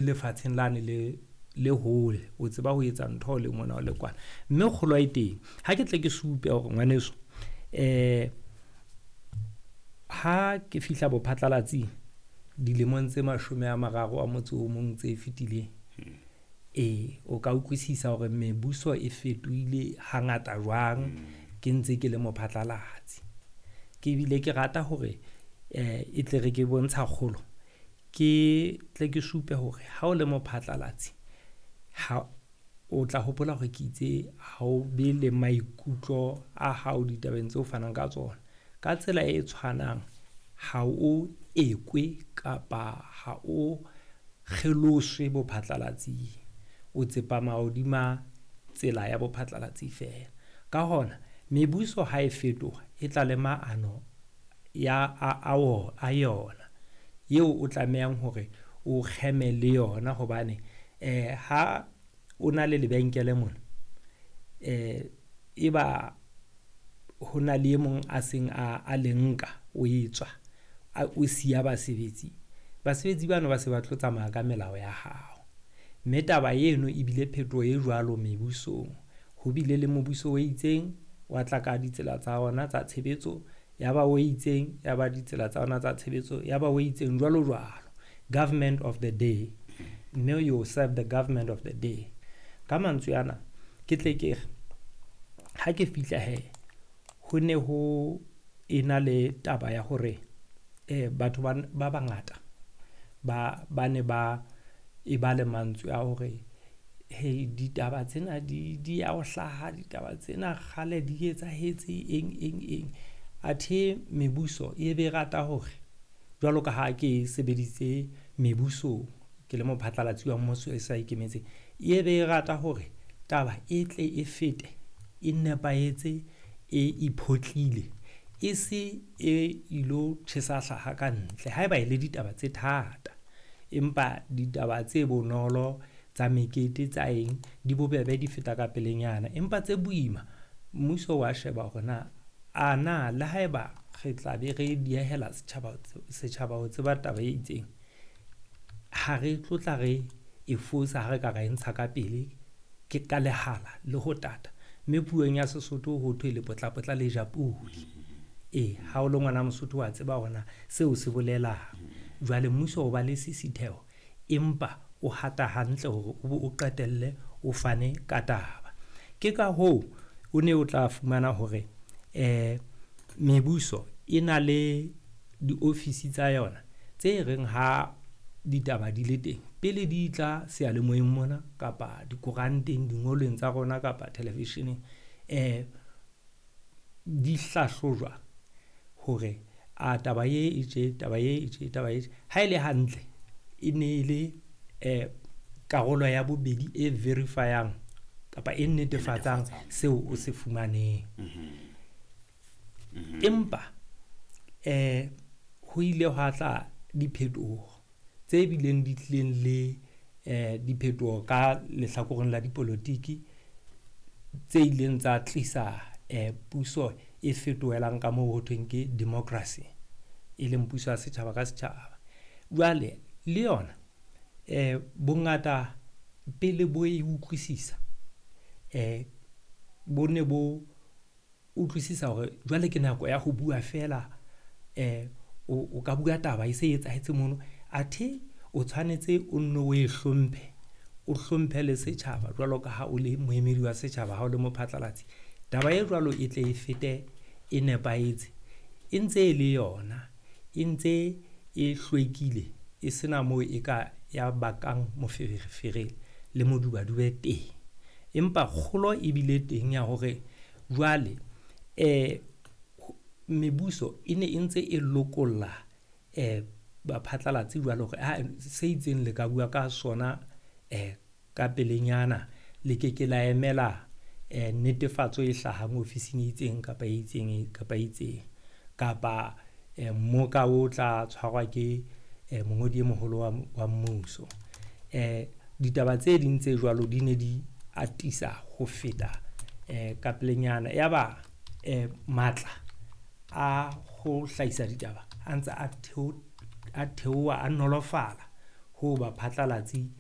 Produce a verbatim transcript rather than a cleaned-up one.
Lefatsheng lane le le hole, o tseba ho etsa ntho o le mona o le kwana. Mme kgolo e teng. Ha ke tle ke supe hore ngwaneso, eh ha ke fihla bophatlalatsing dilemong tse mashome a mararo a motso o mong tse fetileng, ee, o ka utlwisisa hore mebuso e fetohile hangata jwang ke ntse ke le mophatlalatsi. Ke bile ke rata hore eh e tle re ke bontsha kgolo, ke tle ke supe hore ha o le mophatlalatsi, ha o tla hopola hore ke itse ha o be le maikutlo a hao ditabeng tseo fanang ka tsona. Ka tsela e tshwanang, ha o ekwe kapa ha o kgeloswe bophatlalatsing. O tsepama hodima tsela ya bophatlalatsi feela. Ka hona, mebuso ha e fetoha, e tla le maano ya a a a yona eo o tlamehang hore o kgeme le yona hobane eh ha o na le lebenkele mona, eh e ba ho na le e mong a seng a a le nka, o e tswa, a o siya basebetsi. Basebetsi bano ba se ba tlo tsamaya ka melao ya hao. Mme taba eno ebile phetoho e jwalo mebusong. Ho bile le mobuso o itseng, wa tla ka ditsela tsa ona tsa tshebetso, ya ba o itseng, ya ba ditsela tsa ona tsa tshebetso, ya ba o itseng, jwalo jwalo. Government of the day. Mme you serve the government of the day. Ka mantswe ana, ke tle ke re, ha ke fihla he, ho ne ho ena le taba ya hore eh batho ba ba bangata ba ba ne ba e ba le mantswe a hore he ditaba tsena di di ya ho hlaha, ditaba tsena kgale di etsahetse eng eng eng. Athe mebuso e be rata hore jwalo ka ha ke sebeditse mebusong, ke le mophatlalatsi wa mmuso e sa ikemetseng, e be e rata hore taba e tle e fete, e nepahetse, e iphotlile, e se e ilo tjhesa hlaha ka ntle haeba e le ditaba tse thata. Empa ditaba tse bonolo tsa mekete tsa eng di bobebe, di feta ka pelenyana. Empa tse boima, mmuso wa sheba hore na a na le haeba re tla be re diehela setjhaba setjhaba ho tseba taba e itseng, ha re tlo tla re e fosa ha re ka ra e ntsha ka pele ke ka lehala le ho tata. Mme puong ya Sesotho ho thwe lepotlapotla le ja podi. Ee, ha o le ngwana Mosotho wa tseba hore na seo se bolelang. Jwale mmuso o ba le sisitheho, empa o hata hantle hore o bo o qetelle o fane ka taba. Ke ka hoo o ne o tla fumana hore eh mebuso e na le diofisi tsa yona tse reng ha ditaba di le teng, pele di tla seyalemoyeng mona kapa dikoranteng, dingolweng tsa rona kapa televisheneng, eh di hlahlojwa hore a taba e e tje, taba e e tje, taba e tje. Ha e le hantle, e ne e le eh karolo ya bobedi e verify-ang kapa e netefatsang seo o se fumaneng. Empa eh ho ile hwa tla diphetoho tse bileng di tlileng le eh diphetoho ka lehlakoreng la dipolotiki tse ileng tsa tlisa eh puso e fetohelang ka moo ho thweng ke democracy, e leng puso ya setjhaba ka setjhaba. Jwale le yona eh bongata pele bo e utlwisisa, eh bo ne bo utlwisisa hore jwale ke nako ya ho bua feela, eh o, o ka bua taba e se etsahetse mono, athe o tshwanetse o nno o e hlomphe, o hlomphe le setjhaba jwalo ka ha o le moemedi wa setjhaba, ha o le mophatlalatsi. Taba e jwalo e tle e fete e nepahetse, e ntse e le yona, e ntse e hlwekile, e sena moo e ka ya bakang moferefere le modubadube teng. Empa kgolo e bile teng ya hore jwale eh mebuso e ne e ntse e lokolla eh baphatlalatsi jwalo hore ha se itseng le ka bua ka sona eh ka pelenyana, le ke ke la emela eh netefatso e hlahang ofising e itseng kapa e itseng kapa e itseng, kapa eh mmoka o tla tshwarwa ke eh mongodi e moholo wa, wa mmuso. Eh ditaba tse ding tse jwalo di ne di atisa ho feta eh ka pelenyana. Yaba eh matla a ho hlahisa ditaba a ntse a theo, a theoha, a nolofala Ho baphatlalatsi